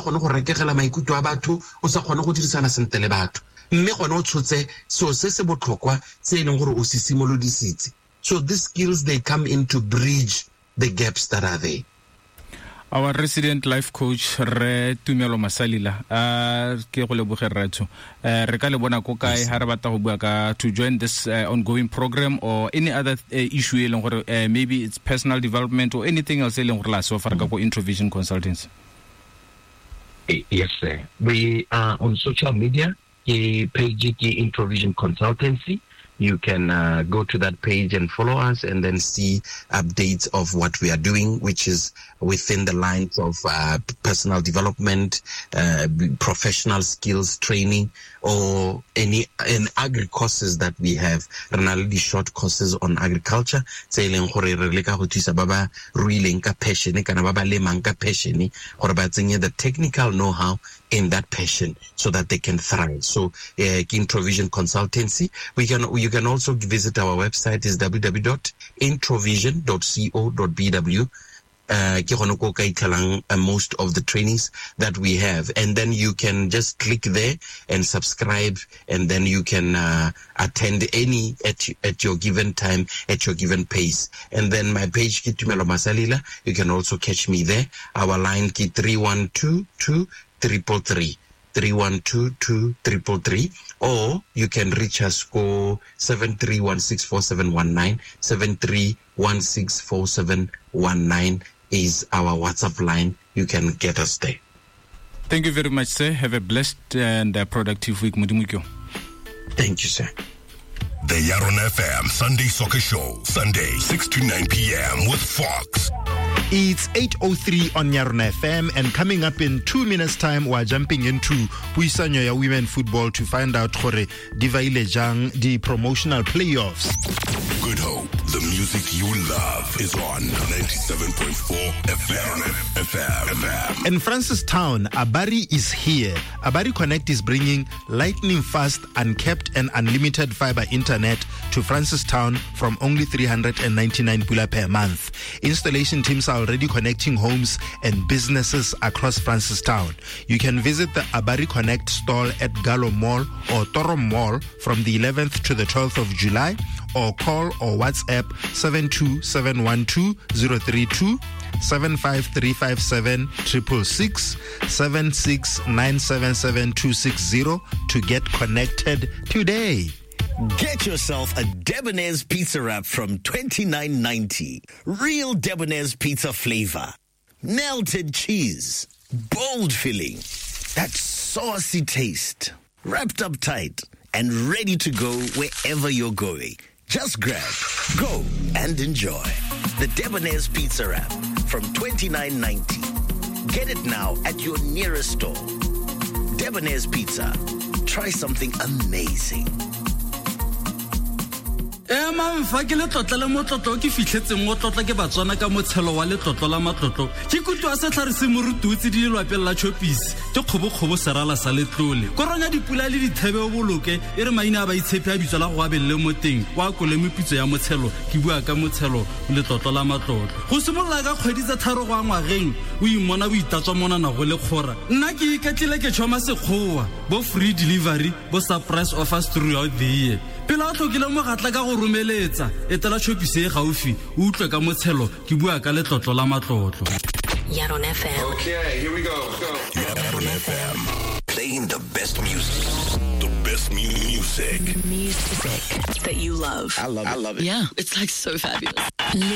kgone go rekegela maikutlo a batho, o sa kgone go dirisana sentle le batho, mme gone o tshotse seo se se botlhokwa se e leng gore o se simolodisitse. So these skills, they come in to bridge the gaps that are there. Our resident life coach, Re Tumelo Masalila, ke go leboge rraetsho. Re ka le bona ko kae ha re batla go bua ka to join this ongoing program or any other issue e leng gore maybe it's personal development or anything else e leng gore la se offer ka ko Introvision Consultants? Yes, sir. We are on social media. Ke page ke Introvision Consultancy. You can go to that page and follow us and then see updates of what we are doing, which is within the lines of personal development, professional skills training, or any and agri courses that we have. Re na le di-short courses on agriculture, tse e leng gore re leka go thusa ba ba ruileng ka passion kana ba ba lemang ka passion gore ba tsenye the technical know-how in that passion so that they can thrive. So Introvision Consultancy. You can also visit our website is www.introvision.co.bw. Ke gone ko ka itlhelang most of the trainings that we have, and then you can just click there and subscribe, and then you can attend any at your given time, at your given pace. And then my page ke Tumelo Masalila, you can also catch me there. Our line ke 3122 333, 3122 333, or you can reach us go 73164719, 73164719 is our WhatsApp line. You can get us there. Thank you very much, sir. Have a blessed and productive week. Modimo ke yo. Thank you, sir. The Yarona FM Sunday Soccer Show, Sunday, 6 to 9 p.m. with Fox. It's 8:03 on Yarona FM, and coming up in 2 minutes' time, we're jumping into Puisanyo ya Women Football to find out gore di vaile jang di promotional playoffs. Good Hope, the music you love is on 97.4 FM. FM. In Francistown, Abari is here. Abari Connect is bringing lightning fast, uncapped and unlimited fiber internet to Francistown from only 399 pula per month. Installation teams are already connecting homes and businesses across Francistown. You can visit the Abari Connect stall at Gallo Mall or Toro Mall from the 11th to the 12th of July, or call or WhatsApp 72712-032, 75357 666, 76977260 to get connected today. Get yourself a Debonair's pizza wrap from $29.90. Real Debonair's pizza flavor. Melted cheese. Bold filling. That saucy taste. Wrapped up tight and ready to go wherever you're going. Just grab, go, and enjoy. The Debonair's Pizza Wrap from $29.90. Get it now at your nearest store. Debonair's Pizza. Try something amazing. Emang fa ke letlotlo le motlotlo ke fitlhetseng o tlotla ke Batswana ka motshelo wa letlotlo la matlotlo. Ke kutlwa setlhare se morututse di lelwapeng la Choppies, ke kgobokgobo serala sa letlole. Koronya dipula le dithebe o boloke, e re maina a baitshepi a bitswa la go abelele mo teng, wa kole meputso ya motshelo, ke bua ka motshelo letlotlo la matlotlo. Go simolola ka kgwedi tsa tharo go a ngwageng, o imona o itatswa monana go le kgora. Nna ke iketlile ke tšhoma sekgowa, bo free delivery, bo surprise offers throughout the year. Pele a tlhokile mogatla ka go romeletsa, etela Choppies e gaufi, o utlwe ka motshelo, ke bua ka letlotlo la matlotlo. Yarona FM. Okay, here we go. Go. Yarona FM. Playing the best music. The best music. Music that you love. I love it. I love it. Yeah, it's so fabulous. Live